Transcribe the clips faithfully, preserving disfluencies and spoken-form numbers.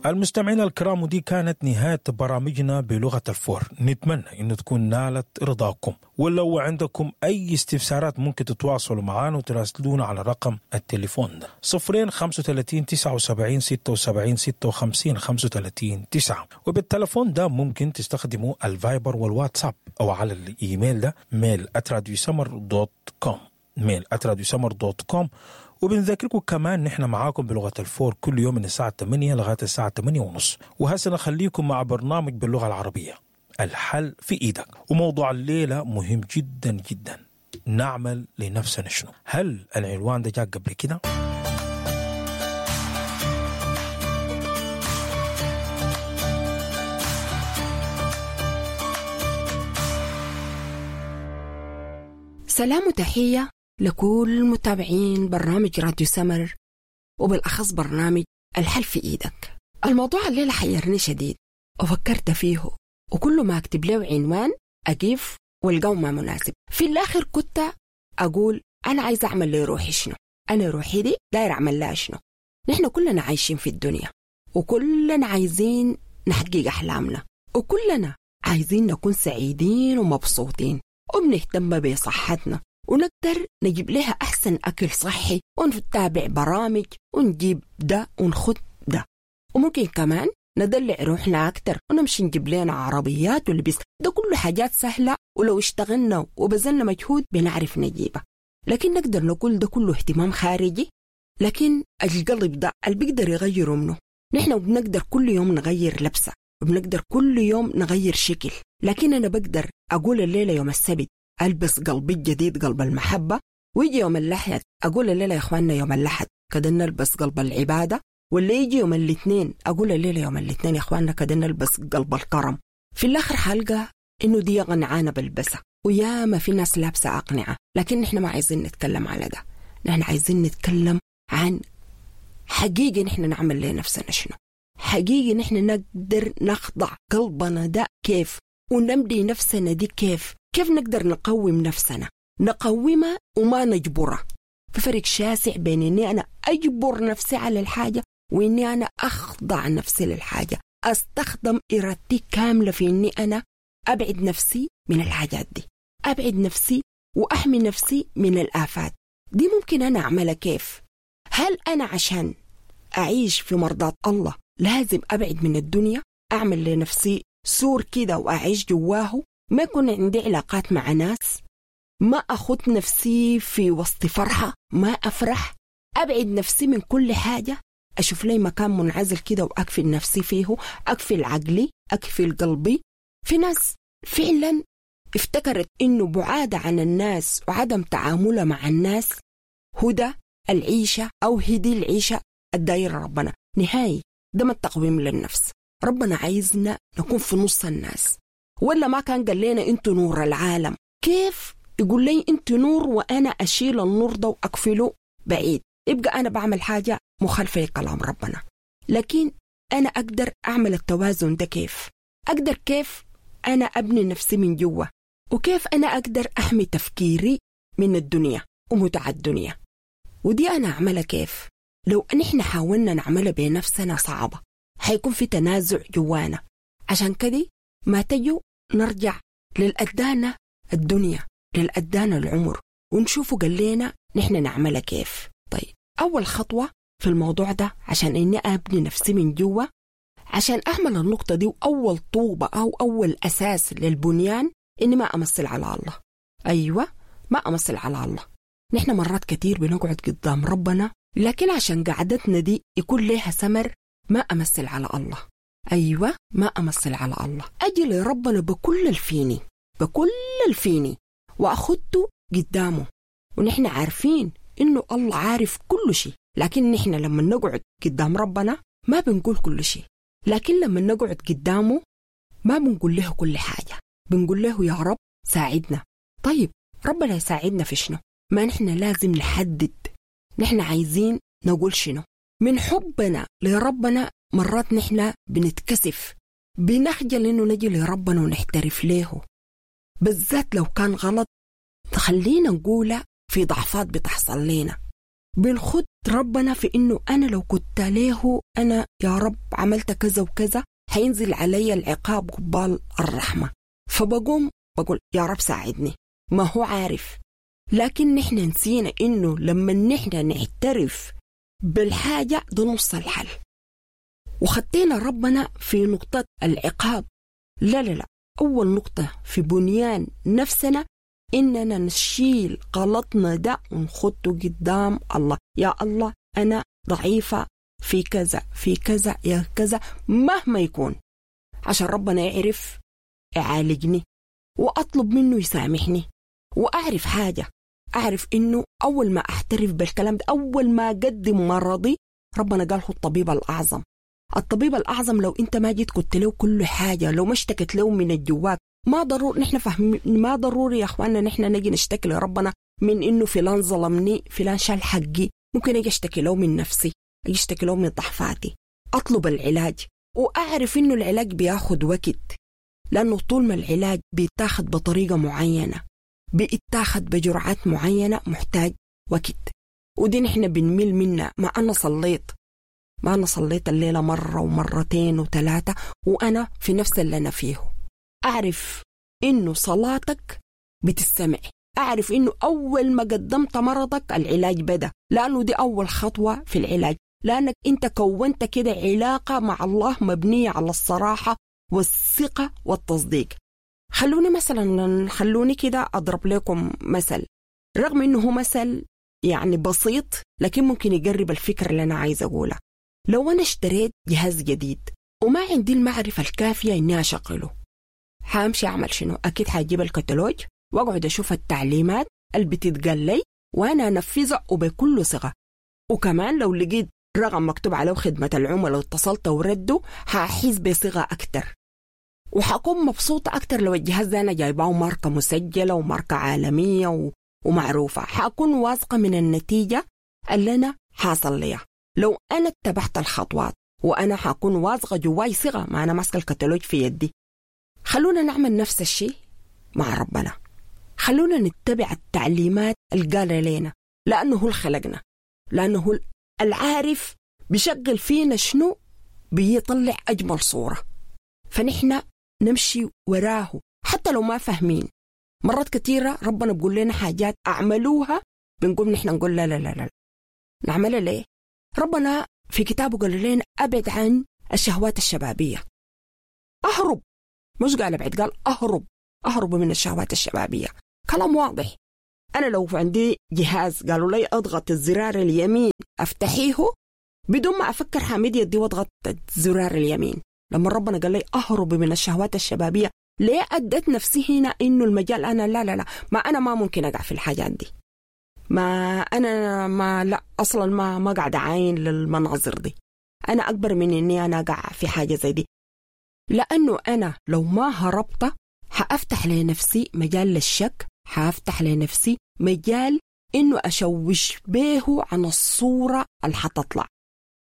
المستمعين الكرام، ودي كانت نهاية برامجنا بلغة الفور. نتمنى أن تكون نالت رضاكم، ولو عندكم أي استفسارات ممكن تتواصلوا معنا وتراسلونا على رقم التليفون ده صفرين خمسة وثلاثين تسعة وسبعين ستة وسبعين ستة وخمسين خمسة وثلاثين تسعة. وبالتلفون ده ممكن تستخدموا الفايبر والواتساب أو على الإيميل ده mail at radiosummer dot com، mail at radiosummer dot com. وبنذكركم كمان نحن معاكم بلغة الفور كل يوم من الساعة ثمانية لغاية الساعة ثمانية ونص. وهسه نخليكم مع برنامج باللغة العربية الحل في إيدك، وموضوع الليلة مهم جدا جدا، نعمل لنفسنا شنو؟ هل العنوان ده جاء قبل كده؟ سلام وتحية لكل متابعين برنامج راديو سمر، وبالأخص برنامج الحل في إيدك. الموضوع الليلة حيرني شديد وفكرت فيه، وكل ما أكتب له عنوان أقف والقو ما مناسب. في الآخر كنت أقول أنا عايز أعمل لروحي شنو، أنا روحي دي داير أعمل لها شنو. نحن كلنا عايشين في الدنيا، وكلنا عايزين نحقق أحلامنا، وكلنا عايزين نكون سعيدين ومبسوطين، وبنهتم بصحتنا ونقدر نجيب لها أحسن أكل صحي، ونتابع برامج ونجيب ده ونخد ده، وممكن كمان ندلع روحنا أكتر ونمشي نجيب لنا عربيات ولبس. ده كله حاجات سهلة، ولو اشتغلنا وبذلنا مجهود بنعرف نجيبها. لكن نقدر نقول ده كله اهتمام خارجي، لكن القلب ده اللي بيقدر يغيره منه. نحن بنقدر كل يوم نغير لبسة، وبنقدر كل يوم نغير شكل، لكن أنا بقدر أقول الليلة يوم السبت ألبس قلبي الجديد قلب المحبة، ويجي يوم الأحد أقول الليلة يا إخواننا يوم الأحد كده نلبس قلب العبادة، واللي يجي يوم الاثنين أقول الليلة يوم الاثنين يا إخواننا كده نلبس قلب الكرم. في الآخر حلقة إنه دي قنعانة بلبسها، ويا ما في ناس لابسة أقنعة، لكن نحن ما عايزين نتكلم على ده. نحن عايزين نتكلم عن حقيقي نحن نعمل لنفسنا شنو، حقيقي نحن نقدر نخضع قلبنا ده كيف، ونمدي نفسنا دي كيف، كيف نقدر نقوم نفسنا، نقومها وما نجبرها. في فرق شاسع بين إني أنا أجبر نفسي على الحاجة وإني أنا أخضع نفسي للحاجة، أستخدم إرادتي كاملة في إني أنا أبعد نفسي من الحاجات دي، أبعد نفسي وأحمي نفسي من الآفات دي. ممكن أنا أعملها كيف؟ هل أنا عشان أعيش في مرضاة الله لازم أبعد من الدنيا، أعمل لنفسي سور كده وأعيش جواه، ما يكون عندي علاقات مع ناس، ما أخذ نفسي في وسط فرحة، ما أفرح، أبعد نفسي من كل حاجة، أشوف لي مكان منعزل كده وأكفل نفسي فيه، أكفل عقلي، أكفل قلبي. في ناس فعلا افتكرت إنه بعادة عن الناس وعدم تعاملها مع الناس هدى العيشة أو هدي العيشة الدايرة ربنا. نهائي ده ما التقويم للنفس. ربنا عايزنا نكون في نص الناس، ولا ما كان قال لنا انتوا نور العالم؟ كيف يقول لي انتوا نور وأنا أشيل النور ده وأقفله بعيد؟ يبقى أنا بعمل حاجة مخالفة لكلام ربنا. لكن أنا أقدر أعمل التوازن ده كيف؟ أقدر كيف أنا أبني نفسي من جوا، وكيف أنا أقدر أحمي تفكيري من الدنيا ومتع الدنيا؟ ودي أنا أعملها كيف؟ لو نحن حاولنا نعملها بنفسنا صعبة، حيكون في تنازع جوانا. عشان كده ما تجوا نرجع للأدانة الدنيا، للأدانة العمر، ونشوفوا قال لنا نحن نعملها كيف. طيب أول خطوة في الموضوع ده عشان إني أبني نفسي من جوا، عشان أعمل النقطة دي وأول طوبة أو أول أساس للبنيان، إني ما أمثل على الله. أيوة، ما أمثل على الله. نحن مرات كتير بنقعد قدام ربنا، لكن عشان قعدتنا دي يكون لها ثمر ما أمثل على الله. أيوة، ما أمثل على الله. أجي لربنا بكل الفيني، بكل الفيني، وأخدته قدامه. ونحن عارفين إنه الله عارف كل شيء، لكن نحن لما نقعد قدام ربنا ما بنقول كل شيء، لكن لما نقعد قدامه ما بنقول له كل حاجة، بنقول له يا رب ساعدنا. طيب ربنا يساعدنا في شنو؟ ما نحن لازم نحدد نحن عايزين نقول شنو. من حبنا لربنا مرات نحن بنتكسف، بنخجل إنه نجي لربنا ونحترف له، بالذات لو كان غلط. خلينا نقوله في ضعفات بتحصل لنا، بنخد ربنا في إنه أنا لو كنت له أنا يا رب عملت كذا وكذا حينزل علي العقاب قبال الرحمة، فبقوم بقول يا رب ساعدني، ما هو عارف. لكن نحن نسينا إنه لما نحن نعترف بالحاجة ده نص الحل، وخطينا ربنا في نقطة العقاب. لا لا لا، أول نقطة في بنيان نفسنا إننا نشيل غلطنا ده ونخطه قدام الله. يا الله أنا ضعيفة في كذا في كذا يا كذا مهما يكون، عشان ربنا يعرف يعالجني وأطلب منه يسامحني. وأعرف حاجة، أعرف إنه أول ما أحترف بالكلام ده، أول ما أقدم مرضي، ربنا قال هو الطبيب الأعظم. الطبيب الأعظم لو أنت ما جيت قلت له كل حاجة، لو ما اشتكت له من الجواك، ما ضروري نحن فهم، ما ضروري يا أخواننا نحن نجي نشتكي لربنا من إنه فلان ظلمني، فلان شال حقي. ممكن أجي أشتكي له من نفسي، أجي أشتكي له من ضعفاتي، أطلب العلاج، وأعرف إنه العلاج بياخد وقت، لأنه طول ما العلاج بيتاخد بطريقة معينة، بيتاخد بجرعات معينة، محتاج وقت. ودي نحن بنميل منها. ما أنا صليت ما أنا صليت الليلة مرة ومرتين وثلاثة وأنا في نفس اللي أنا فيه. أعرف إنه صلاتك بتستمع، أعرف إنه أول ما قدمت مرضك العلاج بدأ، لأنه دي أول خطوة في العلاج، لأنك أنت كونت كده علاقة مع الله مبنية على الصراحة والثقة والتصديق. خلوني مثلا خلوني كده أضرب لكم مثل، رغم إنه هو مثل يعني بسيط لكن ممكن يقرب الفكرة اللي أنا عايز أقولها. لو أنا اشتريت جهاز جديد وما عندي المعرفة الكافية إني أشغله، حامشي أعمل شنو؟ أكيد حاجيب الكتالوج وأقعد أشوف التعليمات اللي بتتقال لي وأنا أنفذها وبكل ثقة. وكمان لو لقيت رقم مكتوب عليه خدمة العملاء واتصلت وردوا، حأحس بثقة أكتر وحأكون مبسوطة أكتر لو الجهاز ده أنا جايباه ماركة مسجلة وماركة عالمية و... ومعروفة. حأكون واثقة من النتيجة اللي أنا حاصل ليها لو أنا اتبعت الخطوات، وأنا حأكون واثقة جواي ثقة ما أنا ماسكة الكتالوج في يدي. خلونا نعمل نفس الشيء مع ربنا، خلونا نتبع التعليمات اللي قالها لنا، لأنه هو اللي خلقنا، لأنه هو العارف بيشغل فينا شنو بيطلع أجمل صورة، فنحن نمشي وراه حتى لو ما فاهمين. مرات كثيرة ربنا بيقول لنا حاجات أعملوها، بنقوم نحن نقول لا لا لا لا، نعملها ليه؟ ربنا في كتابه قال لنا أبعد عن الشهوات الشبابية، أهرب، مش قال أبعد، قال أهرب، أهرب من الشهوات الشبابية. كلام واضح. أنا لو عندي جهاز قالوا لي أضغط الزرار اليمين أفتحيه، بدون ما أفكر حامد يدي وأضغط الزرار اليمين. لما ربنا قال لي أهرب من الشهوات الشبابية، ليه أدت نفسي هنا إنه المجال أنا لا لا لا، ما أنا ما ممكن أقع في الحاجات دي، ما أنا ما لا أصلا ما ما قاعد أعاين للمناظر دي، أنا أكبر من إني أنا أقع في حاجة زي دي. لأنه أنا لو ما هربت حأفتح لنفسي مجال للشك، حأفتح لنفسي مجال إنه أشوش به عن الصورة اللي حتطلع.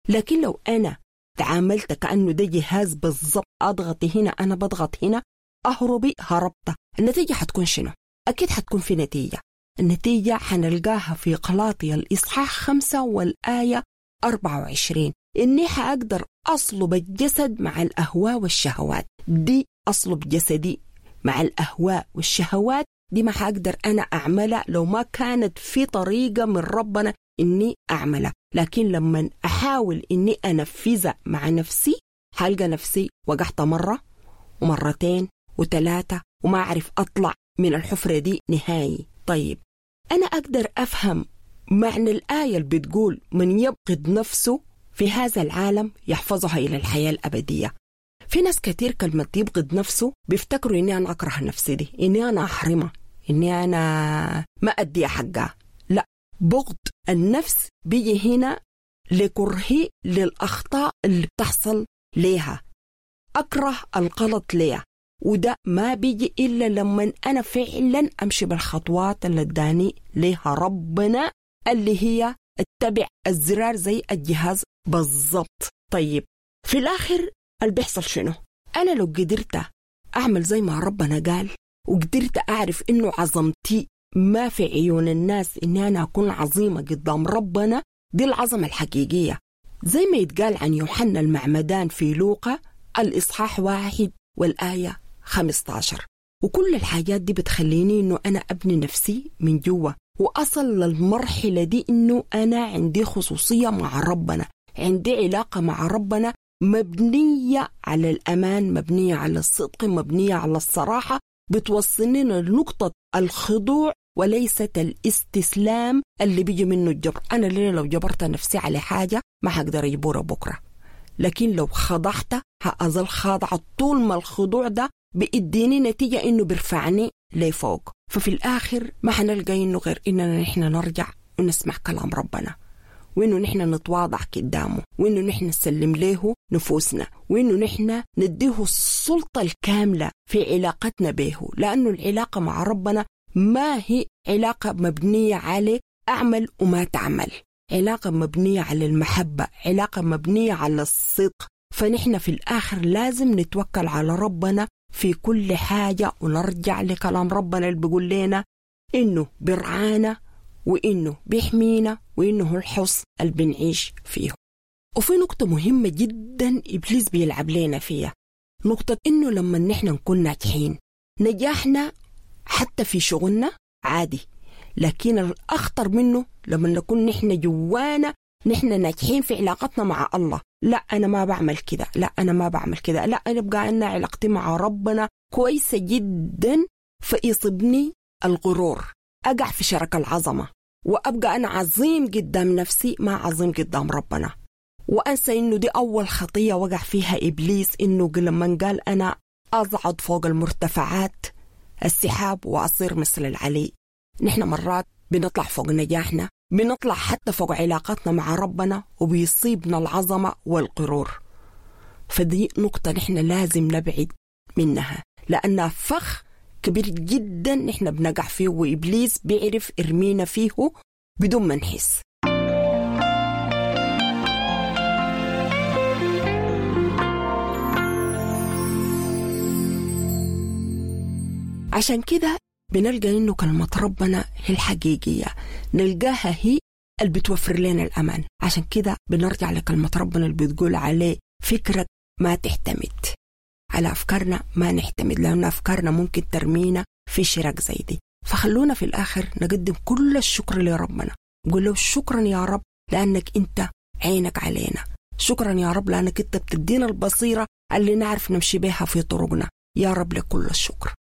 لكن لو أنا تعاملت كأنه ده جهاز بالضبط، أضغط هنا أنا بضغط هنا، أهربي هربت، النتيجة حتكون شنو؟ أكيد حتكون في نتيجة. النتيجة حنلقاها في قلاطية الإصحاح خمسة والآية أربعة وعشرين، إني حأقدر أصلب الجسد مع الأهواء والشهوات. دي أصلب جسدي مع الأهواء والشهوات دي ما حأقدر أنا أعملها لو ما كانت في طريقة من ربنا إني أعملها. لكن لما أحاول إني أنفذها مع نفسي، حلقى نفسي وقعت مرة ومرتين وثلاثة وما أعرف أطلع من الحفرة دي نهائي. طيب أنا أقدر أفهم معنى الآية اللي بتقول من يبغض نفسه في هذا العالم يحفظها إلى الحياة الأبدية. في ناس كتير كلمة يبغض نفسه بيفتكروا إني أنا أكره نفسي دي، إني أنا أحرمها، إني أنا ما أدي حقها. لا، بغض النفس بيجي هنا لكرهي للأخطاء اللي بتحصل ليها، أكره الغلط ليها، وده ما بيجي إلا لما أنا فعلا أمشي بالخطوات اللي اداني ليها ربنا، اللي هي اتبع الزرار زي الجهاز بالضبط. طيب في الآخر اللي بيحصل شنو؟ أنا لو قدرت أعمل زي ما ربنا قال، وقدرت أعرف إنه عظمتي ما في عيون الناس، إني أنا أكون عظيمة قدام ربنا، دي العظمة الحقيقية، زي ما يتقال عن يوحنا المعمدان في لوقا الإصحاح واحد والآية خمستاشر. وكل الحاجات دي بتخليني إنه أنا أبني نفسي من جوا، وأصل للمرحلة دي إنه أنا عندي خصوصية مع ربنا، عندي علاقة مع ربنا مبنية على الأمان، مبنية على الصدق، مبنية على الصراحة، بتوصلني لنقطة الخضوع وليست الاستسلام اللي بيجي منه الجبر. أنا ليه لو جبرت نفسي على حاجة ما هقدر أجبرها بكرة، لكن لو خضعت هأظل خاضعة طول ما الخضوع ده بيديني نتيجة إنه بيرفعني لفوق. ففي الآخر ما حنلقى إنه غير إننا نحن نرجع ونسمع كلام ربنا، وإنه نحن نتواضع قدامه، وإنه نحن نسلم له نفوسنا، وإنه نحن نديه السلطة الكاملة في علاقتنا به، لأنه العلاقة مع ربنا ما هي علاقة مبنية على أعمل وما تعمل، علاقة مبنية على المحبة، علاقة مبنية على الصدق. فنحن في الآخر لازم نتوكل على ربنا في كل حاجة، ونرجع لكلام ربنا اللي بيقول لنا إنه برعانا وإنه بيحمينا وإنه هو الحصن اللي بنعيش فيه. وفي نقطة مهمة جدا إبليس بيلعب لنا فيها، نقطة إنه لما نحن نكون ناجحين، نجاحنا حتى في شغلنا عادي، لكن الأخطر منه لما نكون نحن جوانا نحن ناجحين في علاقتنا مع الله. لا أنا ما بعمل كده، لا أنا ما بعمل كده، لا أنا بقى أن علاقتي مع ربنا كويسة جدا، فيصبني الغرور، أقع في شرك العظمة، وأبقى أنا عظيم قدام نفسي ما عظيم قدام ربنا. وأنسى إنه دي أول خطية وقع فيها إبليس، إنه لما قال أنا أصعد فوق المرتفعات السحاب وأصير مثل العلي. نحن مرات بنطلع فوق نجاحنا، بنطلع حتى فوق علاقتنا مع ربنا، وبيصيبنا العظمة والغرور. فدي نقطة نحن لازم نبعد منها، لأنها فخ كبير جدا نحن بنقع فيه، وإبليس بيعرف إرمينا فيه بدون ما نحس. عشان كده بنلقى إنه كلمة ربنا هي الحقيقية، نلقاها هي اللي بتوفر لنا الأمان. عشان كده بنرجع لكلمة ربنا اللي بتقول عليه فكرك ما تعتمد على أفكارنا، ما نعتمد، لأن أفكارنا ممكن ترمينا في شرك زي دي. فخلونا في الآخر نقدم كل الشكر لربنا، نقول له شكرا يا رب لأنك أنت عينك علينا، شكرا يا رب لأنك أنت بتدينا البصيرة اللي نعرف نمشي بها في طرقنا. يا رب لكل الشكر.